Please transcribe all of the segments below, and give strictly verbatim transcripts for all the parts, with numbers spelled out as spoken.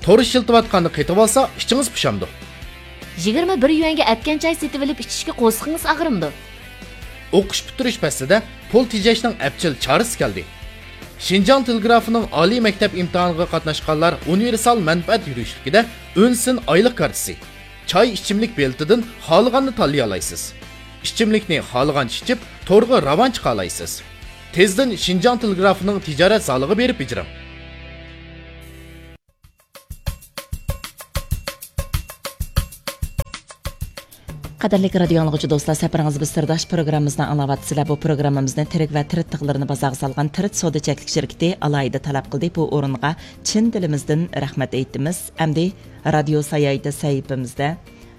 تور ئىشلىتىۋاتقاندا قېتىۋالسا ئىچىڭىز پۇشامدۇ؟ يىگىرمە بىر يۈەنگە ئەتكەن چاي سېتىۋېلىپ ئىچىشكە قورسىقىڭىز ئاغرىمدۇ؟ ئوقۇش پۈتتۈرۈش پەسلىدە پۇل تېجەشنىڭ ئەپچىل چارىسى كەلدى. شىنجاڭ تېلېگرافىنىڭ ئالىي مەكتەپ ئىمتىھانىغا قاتناشقانلار ئۇنىۋېرسال مەنپەئەت يۈرۈشلۈكىدە ئۈن سىن ئايلىق كارتىسى، چاي ئىچىملىك بېلىتىدىن خالىغاننى تاللىيالايسىز. ئىچىملىكنى خالىغانچە ئىچىپ، تورغا راۋان چىقالايسىز. تېزدىن شىنجاڭ تېلېگرافىنىڭ تىجارەت زالىغا بېرىپ بېجىرىڭ. قەدىرلىك رادىيو ئاڭلىغۇچى دوستلار، سەپىرىڭىز بىز سىرداش پروگراممىمىزنى ئاڭلاۋاتىسىلەر. بۇ پروگراممىمىزنى تىرىك ۋە تىرىت تىغلىرىنى بازارغا سالغان تىرىت سودا چەكلىك شىركىتى ئالاھىدە تەلەپ قىلدى. بۇ ئورۇنغا چىن دىلىمىزدىن رەھمەت ئېيتىمىز. ئەمدى رادىيو ساياھىتى سەھىپىمىزدە،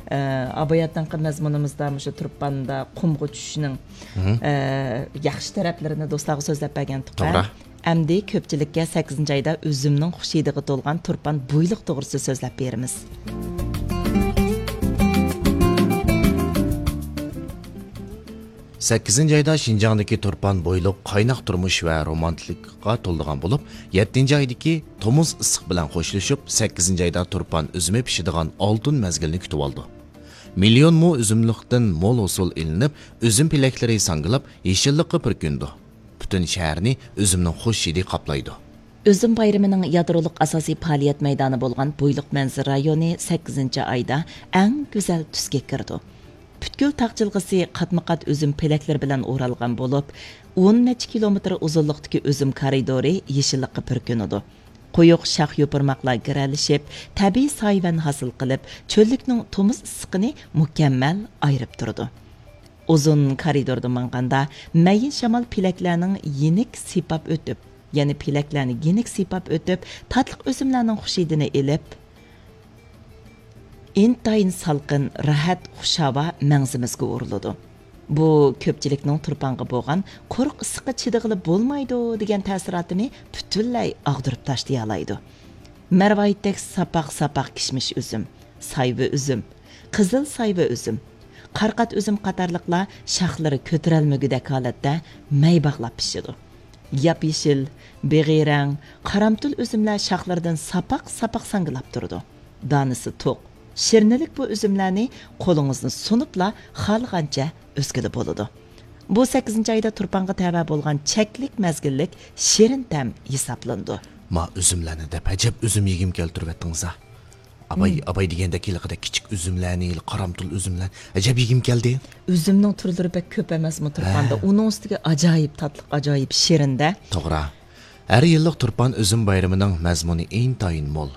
ئە، ئاباياتىنقى مەزمۇنىمىزدا مۇشۇ تۇرپاندا قۇمغا چۈشۈشنىڭ، مھم، ئە، ياخشى تەرەپلىرىنى دوستلارغا سۆزلەپ بەرگەنتۇق. توغرا. ئەمدى كۆپچىلىككە سەككىزىنچى ئايدا ئۈزۈمنىڭ خۇش ھىدىغا تولغان تۇرپان بويلۇق توغرىسىدا سۆزلەپ بېرىمىز. سەككىزىنچى ئايدا شىنجاڭدىكى تۇرپان بويلۇق قايناق تۇرمۇش ۋە رومانتىكىغا تولىدىغان بولۇپ، يەتتىنچى ئايدىكى تومۇز ئىسسىق بىلەن خوشلىشىپ، سەككىزىنچى ئايدا تۇرپان ئۈزۈمى پىشىدىغان ئالتۇن مەزگىلنى كۈتۈۋالىدۇ. مىليون مو ئۈزۈملۈكتىن مول ھوسۇل ئېلىنىپ، ئۈزۈم پېلەكلىرى ساڭگىلاپ، يېشىللىققا پۈركىنىدۇ. پۈتۈن شەھەرنى ئۈزۈمنىڭ خۇش ھىدى قاپلايدۇ. ئۈزۈم بايرىمىنىڭ يادرولۇق ئاساسىي پائالىيەت مەيدانى بولغان بويلۇق مەنزىرە رايونى سەككىزىنچى ئايدا ئەڭ گۈزەل تۈسكە كىرىدۇ. پۈتكۈل تاغ جىلغىسى قاتمۇقات ئۈزۈم پېلەكلىرى بىلەن ئورالغان بولۇپ، ئون نەچچە كىلومېتىر ئۇزۇنلۇقتىكى ئۈزۈم كارىدورى يېشىللىققا پۈركىنىدۇ. قويۇق شاخ-يوپۇرماقلار گىرەلىشىپ، تەبىئىي سايىۋەن ھاسىل قىلىپ، چۆللۈكنىڭ تومۇز ئىسسىقىنى مۇكەممەل ئايرىپ تۇرىدۇ. ئۇزۇن كارىدوردا ماڭغاندا، مەيىن شامال پېلەكلەرنىڭ يېنىك سىيپاپ ئۆتۈپ، يەنى پېلەكلەرنى يېنىك سىيپاپ ئۆتۈپ، تاتلىق ئۈزۈملەرنىڭ خۇش ھىدىنى ئېلىپ، ئىنتايىن سالقىن، راھەت، خۇش ھاۋا مەڭزىمىزگە ئۇرۇلىدۇ. بۇ كۆپچىلىكنىڭ تۇرپانغا بولغان قۇرۇق ئىسسىققا چىدىغىلى بولمايدۇ دېگەن تەسىراتىنى پۈتۈنلەي ئاغدۇرۇپ تاشلىيالايدۇ. مەرۋايىتتەك ساپاق-ساپاق كىشمىش ئۈزۈم، سايۋا ئۈزۈم، قىزىل سايۋا ئۈزۈم، قارقات ئۈزۈم قاتارلىقلار شاخلىرى كۆتۈرەلمىگۈدەك ھالەتتە مەي باغلاپ پىشىدۇ. ياپيېشىل، بېغىي رەڭ، قارامتۇل ئۈزۈملەر شاخلىرىدىن ساپاق-ساپاق ساڭگىلاپ تۇرىدۇ. دانىسى توق، شىرنىلىك بۇ ئۈزۈملەرنى قولىڭىزنى سۇنۇپلا خالىغانچە ئۈزگىلى بولىدۇ. بۇ سەككىزىنچى ئايدا تۇرپانغا تەۋە بولغان چەكلىك مەزگىللىك شېرىن تەم ھېسابلىنىدۇ. ما ئۈزۈملەرنى دەپ ئەجەب ئۈزۈم يېگۈم كەلتۈرۈۋەتتىڭىز ھە. ئاباي، مم. ئاباي دېگەندەك ھېلىقىدەك كىچىك ئۈزۈملەرنى، ھېلى قارامتۇل ئۈزۈملەر. ئەجەب يېگۈم كەلدى. ئۈزۈمنىڭ تۈرلىرى بەك كۆپ ئەمەسمۇ تۇرپاندا؟ ھە. ئۇنىڭ ئۈستىگە ئاجايىپ تاتلىق، ئاجايىپ شېرىن-دە. توغرا. ھەر يىللىق تۇرپان ئۈزۈم بايرىمىنىڭ مەزمۇنى ئىنتايىن مول.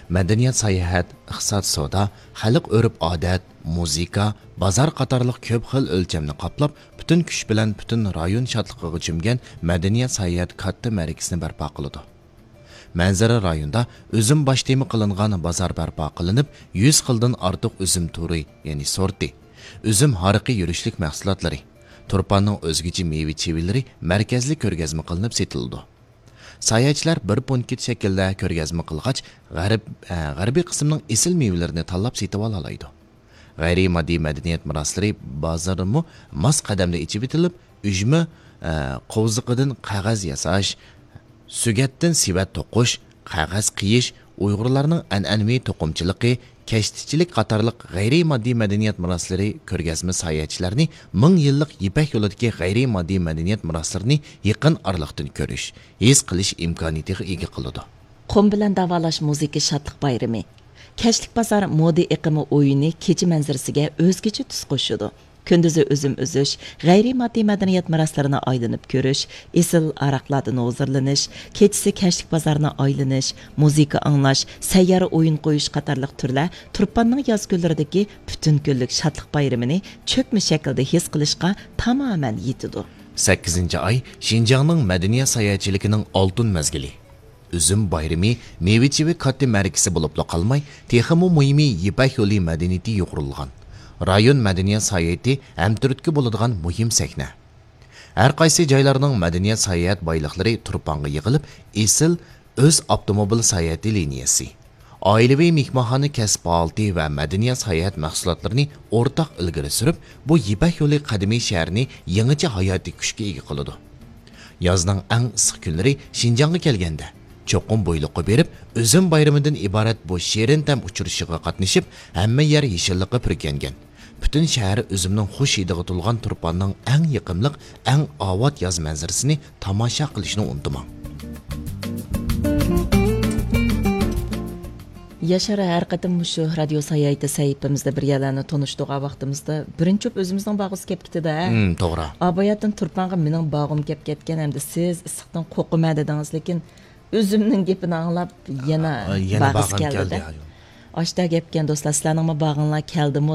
مەدەنىيەت، ساياھەت، ئىقتىساد، سودا، خەلق ئۆرپ-ئادەت، مۇزىكا، بازار قاتارلىق كۆپ خىل ئۆلچەمنى قاپلاپ، پۈتۈن كۈچ بىلەن پۈتۈن رايون شادلىقىغا چۆمگەن مەدەنىيەت، ساياھەت كاتتا مەرىكىسىنى بەرپا قىلىدۇ. مەنزىرە رايونىدا ئۈزۈم باش تېما قىلىنغان بازار بەرپا قىلىنىپ، يۈز خىلدىن ئارتۇق ئۈزۈم تۈرى، يەنى سورتى، ئۈزۈم ھارىقى يۈرۈشلۈك مەھسۇلاتلىرى، تۇرپاننىڭ ئۆزگىچە مېۋە-چىۋىلىرى مەركەزلىك كۆرگەزمە قىلىنىپ سېتىلىدۇ. ساياھەتچىلەر بىر پونكىت شەكلىدە كۆرگەزمە قىلغاچ، غەرب-، ئە، غەربىي قىسىمنىڭ ئېسىل مېۋىلىرىنى تاللاپ سېتىۋالالايدۇ. غەيرىي ماددىي مەدەنىيەت مىراسلىرى بازىرىمۇ ماس قەدەمدە ئېچىۋېتىلىپ، ئۈجمە، ئە، قوۋزىقىدىن قەغەز ياساش، سۆگەتتىن سېۋەت توقۇش، قەغەز قېيىش، ئۇيغۇرلارنىڭ ئەنئەنىۋى توقۇمىچىلىقى، كەشتىچىلىك قاتارلىق غەيرىي ماددىي مەدەنىيەت مىراسلىرى كۆرگەزمە ساياھەتچىلەرنى مىڭ يىللىق يىپەك يولىدىكى غەيرىي ماددىي مەدەنىيەت مىراسلىرىنى يېقىن ئارىلىقتىن كۆرۈش، ھېس قىلىش ئىمكانىيىتىغا ئىگە قىلىدۇ. قۇم بىلەن داۋالاش مۇزىكا شادلىق بايرىمى. كەچلىك بازار مودا ئېقىمى ئويۇنى كېچە مەنزىرىسىگە ئۆزگىچە تۈس قوشىدۇ. كۈندۈزى ئۈزۈم ئۈزۈش، غەيرىي ماددىي مەدەنىيەت مىراسلىرىنى ئايلىنىپ كۆرۈش، ئېسىل ئاراقلاردىن ھۇزۇرلىنىش، كېچىسى كەچلىك بازارنى ئايلىنىش، مۇزىكا ئاڭلاش، سەييارە ئويۇن قويۇش قاتارلىق تۈرلەر تۇرپاننىڭ ياز كۈنلىرىدىكى پۈتۈن كۈنلۈك شادلىق بايرىمىنى چۆكمە شەكىلدە ھېس قىلىشقا تامامەن يېتىدۇ. سەككىزىنچى ئاي شىنجاڭنىڭ مەدەنىيەت ساياھەتچىلىكىنىڭ ئالتۇن مەزگىلى. ئۈزۈم بايرىمى مېۋە-چېۋە كاتتا مەرىكىسى بولۇپلا قالماي، تېخىمۇ مۇھىمى يىپەك يولى مەدەنىيىتى يۇغۇرۇلغان رايون مەدەنىيەت ساياھىتى ھەمتۈرتكە بولىدىغان مۇھىم سەھنە. ھەر قايسى جايلارنىڭ مەدەنىيەت ساياھەت بايلىقلىرى تۇرپانغا يىغىلىپ، ئېسىل ئۆز ئاپتوموبىل ساياھىتى لىنىيەسى، ئائىلىۋى مېھمانخانا كەسىپ پائالىيىتى ۋە مەدەنىيەت ساياھەت مەھسۇلاتلىرىنى ئورتاق ئىلگىرى سۈرۈپ، بۇ يىپەك يولى قەدىمىي شەھىرىنى يېڭىچە ھاياتىي كۈچكە ئىگە قىلىدۇ. يازنىڭ ئەڭ ئىسسىق كۈنلىرى شىنجاڭغا كەلگەندە، چوقۇم بويلۇققا بېرىپ، ئۈزۈم بايرىمىدىن ئىبارەت بۇ شېرىن تەم ئۇچرىشىغا قاتنىشىپ، ھەممە يەر يېشىللىققا پۈركەنگەن. پۈتۈن شەھەر ئۈزۈمنىڭ خۇش ھىدىغا تولغان تۇرپاننىڭ ئەڭ يېقىملىق، ئەڭ ئاۋات ياز مەنزىرىسىنى تاماشا قىلىشنى ئۇنتۇماڭ. ياشار ھەر قېتىم مۇشۇ رادىيو ساياھىتى سەھىپىمىزدە بىر يەرلەرنى تونۇشتۇرغان ۋاقتىمىزدا، بىرىنچى بولۇپ ئۆزىمىزنىڭ باغىسى كەپ كېتىدۇ، ھە؟ ھىم، توغرا. ئاباياتتىن تۇرپانغا مېنىڭ باغىم كەپ كەتكەن ھەمدە سىز ئىسسىقتىن قورقىمەن دېدىڭىز، لېكىن ئۆزۈمنىڭ گېپىنى ئاڭلاپ يەنە، ئا، يەنە باغىسى باغىم كەلدى-دە. كەلدى، ھە. ئاشتا گەپكەن دوستلار، سىلەرنىڭمۇ باغىڭلار كەلدىمۇ؟